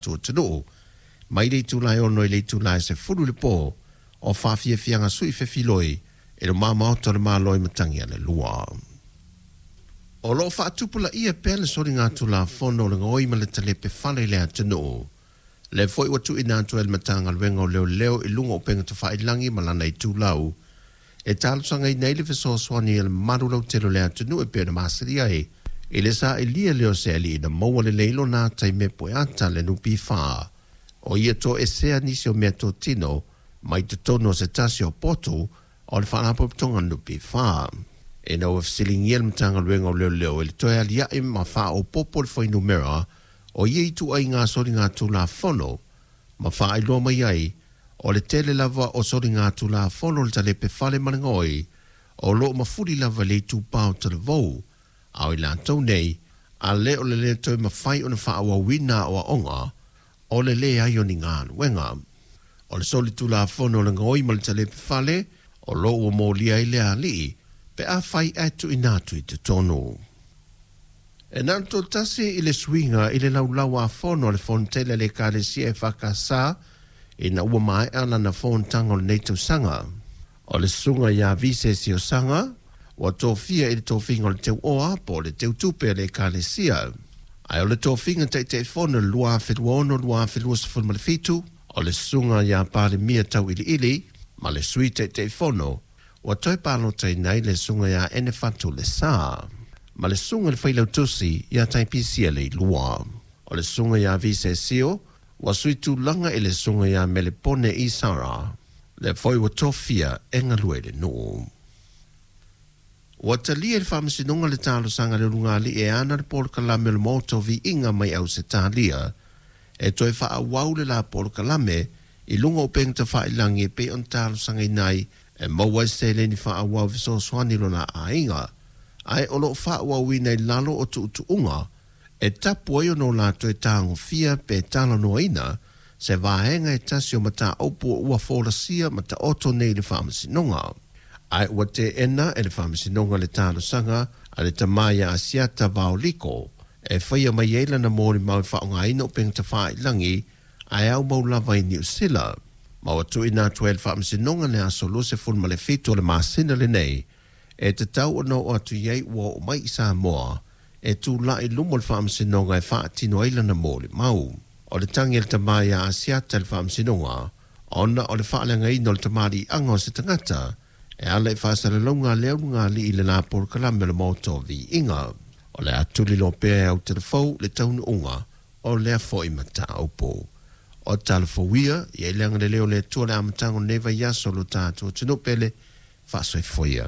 Tatou atunuu mai le itula e 6 i le itula e 10 i le po o faafiafiaga sui fefiloi i luma maota o le Malo i Matagialelua. O lo o faatupulaia pea le soligatulafono o le gaoi ma le talepe fale i le atunuu. Lea foi ua tuuina atu ai le Matagaluega o Leoleo i luga o upega tafailagi ma lana itulau e talosagaina ai le fesoasoani a le mamalu lautele o le atunuu e pei ona masani ai i le sailia lea o se alii na maua lelei lona ata i mea pueata a le NPF. O ia toesea nisi o meatotino mai totonu o se tasi o potu o le Faalapotopotoga a le NPF. Ina ua fesiligia le Matagaluega o Leoleo i le toe aliae ma faaopoopo le fuainumera o ia ituaiga soligatulafono ma faailoa mai ai o le tele lava o soligatulafono o le talepe fale ma le gaoi o lo o mafuli lava i le itupa o talavou a o i latou nei a le o le lē toe mafai ona faaauauina aoaoga o le leai o ni galuega. O le solitulafono o le gaoi ma le talepe fale o lo o ua molia ai le alii pe afai ae tuuina atu i totonu. E na o le toatasi i le suiga i le laulau-a-fono a le Fonotele a le Ekalesia EFKS ina ua maea lana fonotaga o lenei tausaga. O le susuga ia Vise Siosaga ua tofia i le tofiga o le teuoa po o le teutupe a le Ekalesia. Ae o le tofiga Taitaifono i le 2026-2027, o le susuga ia Palemia Tauiliili ma le Sui Taitaifono ua toe palotaina ai le susuga ia Enefatu Lesa ma le susuga i le Failautusi ia Taipisia Leilua. O le susuga ia Vise Sio ua sui tulaga i le susuga ia Melepone Isara, lea foi ua tofia e galue i le nuu. Ua talia e le Faamasinoga le talosaga a le ulugalii e ana le polokalame o le Maota o Viiga mai Ausetalia e toe faaauau le la polokalame i luga o upega tafailagi e pei ona talosagaina ai e maua ai se seleni faaauau e fesoasoani i lona aiga, ae o lo o faaauauina i lalo o tuutuuga e tapu ai ona o la toe tagofia pe talanoaina se vaega e tasi o mataupu ua folasia ma taoto nei i le Faamasinoga. Ae ua teena e le Faamasinoga le talosaga a le tama ia Asiata Vaoliko e faia mai ai lana molimau e faaaogaina upega tafailagi ae aumau lava i Niu Sila. Ma ua tuuina atu ai e le Faamasinoga le aso 27 o le masina lenei e tatau ona oo atu i ai ua oo mai i Samoa e tulai i luma o le Faamasinoga e faatino ai lana molimau. O le tagi a le tama ia Asiata i le Faamasinoga ona o le faaleagaina o le tamaliiaga o se tagata e ala i faasalalauga a le ulugalii i le la polokalame o le Maota o Viiga. O le a tuliloa pea e Autelefou le taunuuga o lea foi mataupu. O talafou ia, i ai le agalelei o le Atua i le amataga o lenei vaiaso o lo tatou atunuu pele, faasoifua ia.